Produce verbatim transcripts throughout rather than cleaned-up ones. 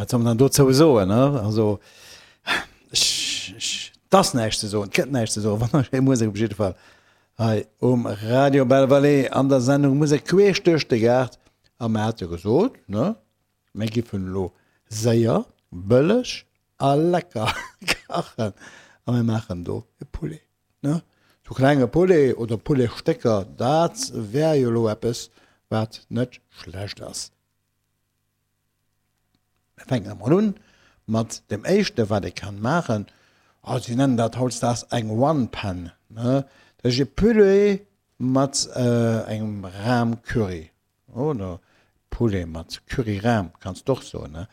Wat soll man dann dozou soen, ne? Also, ech, ech, 't ass näischt ze soen, 't gëtt näischt ze soen. Wonnerschéi Musek op jidde Fall hei um Radio Belle Vallée an der Sendung Musek queesch duerch de Gaart. A mer hate gesot, ne, mir giffen elo séier, bëlleg a lecker kachen a mir maachen do e Poulet, ne? Sou klenge Poulet oder Pouletstécker, dat wär jo elo eppes, wat net schlecht ass. Mir fänken emol un mat dem éischte wat ee kann maachen, oh si nennen dat hautdesdaags eng One Pan, ne, dat ass e Poulet mat engem Ram-Curry oder Poulet mat Curry-Ram kanns de och soen, ne.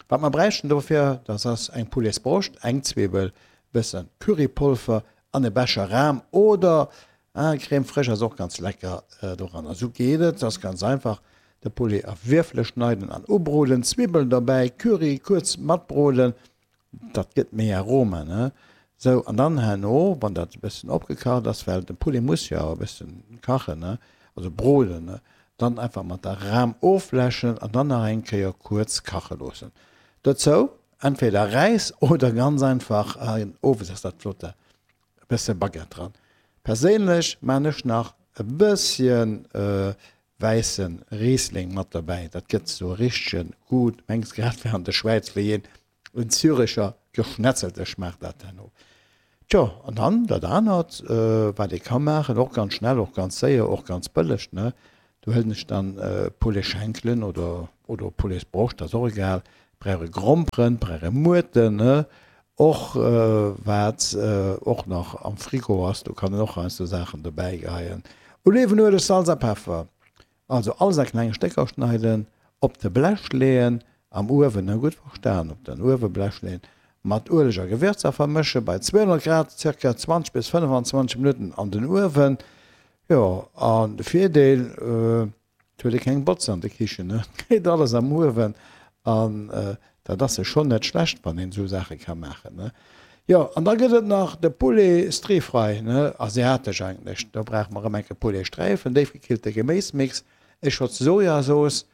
Wat mer bräichten dofir, dat ass eng Pouletsbroscht, eng Zwiwwel, bëssen Currypolver an e Becher Ram oder Crème fraîche ass och ganz lecker doranner. Sou geet et, ass ganz einfach, de Poulet a Wierfele schneiden an ubroden, Zwibbel derbäi, Curry kuerz matbroden, dat gëtt méi Aroma, ne? Sou, an dann herno, wann dat e bëssen opgekacht ass, well de Poulet muss jo awer e bëssen kachen, ne, also broden, ne, dann einfach mat der Ram ofläschen an dann nach eng Kéier kuerz kache loossen. Dozou entweder Räis oder ganz einfach, owes ass dat flott, e bësse Baguette dran. Perséinlech maan ech nach e bësschen wäisse Riesling mat derbäi, dat gëtt sou richtegen Goût, mengs grad wéi an der Schwäiz, wéi een en Züricher Geschnetzelte schmaacht dat herno. Tjo, an dann dat anert, wat ee ka maachen, och ganz schnell, och ganz séier, och ganz bëlleg, ne, do huelen ech dann Pouletschenkelen oder oder Pouletsbroscht, dat ass och egal, brauch e Gromperen, brauch e Muerten, ne, och wat och nach am Frigo ass, do kann een och heiansdo Saachen dobäi geheien, Olivenueleg, Salz a Peffer. Also alles a kleng Stécker schneiden, op de Blech leeën, am Uewen, hu gutt verstan, op den Ueweblech leeën, mat Ueleg a Gewürzer vermëschen, bei zweehonnert Grad zirka zwanzeg bis fënnefenzwanzeg Minutten an den Uewen. Jo, an de Virdeel, et huet ee keng Botz an de Kichen, et geet alles am Uewen an dat ass jo schonn net schlecht, wann een esou Saache ka maachen, ne. Jo, an da gëtt et nach de Poulet Stir-Fry, ne, asiatesch eigentlech. Do brauche mer erëm enke Pouletsträifen, déifgekillte Geméismix, e Schotz Sojasauce.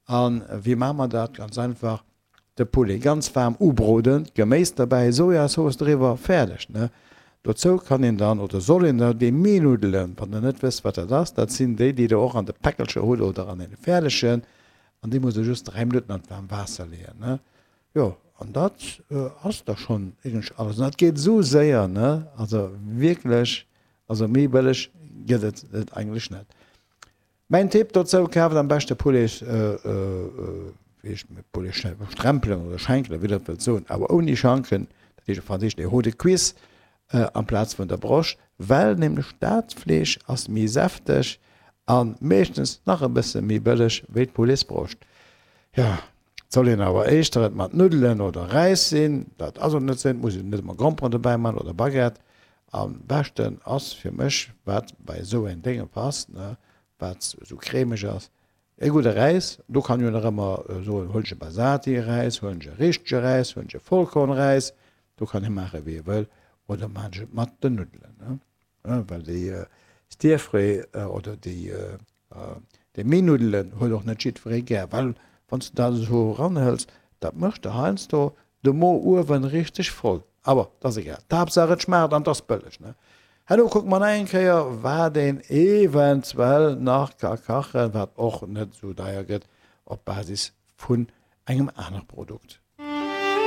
A wéi maache mer dat? Ganz einfach, de Poulet ganz waarm ubroden, d'Geméis derbäi, Sojasauce driwwer, fäerdeg, ne. Dozou kann een dann, oder soll een da, déi Mehlnuddelen, wann der net wësst, wat dat ass, dat sinn déi, déi der och an de Päckelcher hutt oder an deene fäerdegen, an déi musst der just dräi Minutten an d'waarm Waasser leeën, ne. Jo, an dat ass da schonn eigentlech alles. An dat geet esou séier, ne? Also wierklech, also méi bëlleg gëtt et et eigentlech net. Mäin Tipp dozou, kaaft am beschte Poulet, wéi heescht et, Pouletstrempelen oder Schenkelen, wéi der et wëllt soen, awer ouni Schanken, dat heescht op Franséisch les hauts de cuisse, amplaz vun der Broscht, well nämlech dat Fleesch ass méi säfteg a meeschtens nach e bësse méi bëlleg wéi d'Pouletsbroscht. Jo, et soll een awer éischter et mat Nuddelen oder Räis sinn, dat ass och net sinn, et muss een net ëmmer Gromperen dobäi man oder Baguette. Am beschten ass fir mech, wat bei esou en Dénge passt, ne, wat esou cremeg ass, e gudde Räis. Do kann een jo nach ëmmer soen, huelen ech e Basati-Räis, huelen ech e richtege Räis, huelen ech e Vollkornräis, do kann ee maache wéi ee wëll, oder maan ech et mat den Nuddelen, ne, well déi Stir-Fry oder déi Déi Meenuddelen huet och net jiddweree gär, well wann s de dat esou eranhëls, dat mécht der heiansdo de Mo uewen richteg voll. Awer 't ass egal, d'Haaptsaach et schmaacht an 't ass bëlleg, ne? Herno kucke mer nach eng Kéier, wat een eventuell nach ka kachen, wat och net esou deier gëtt, op Basis vun engem anere Produkt.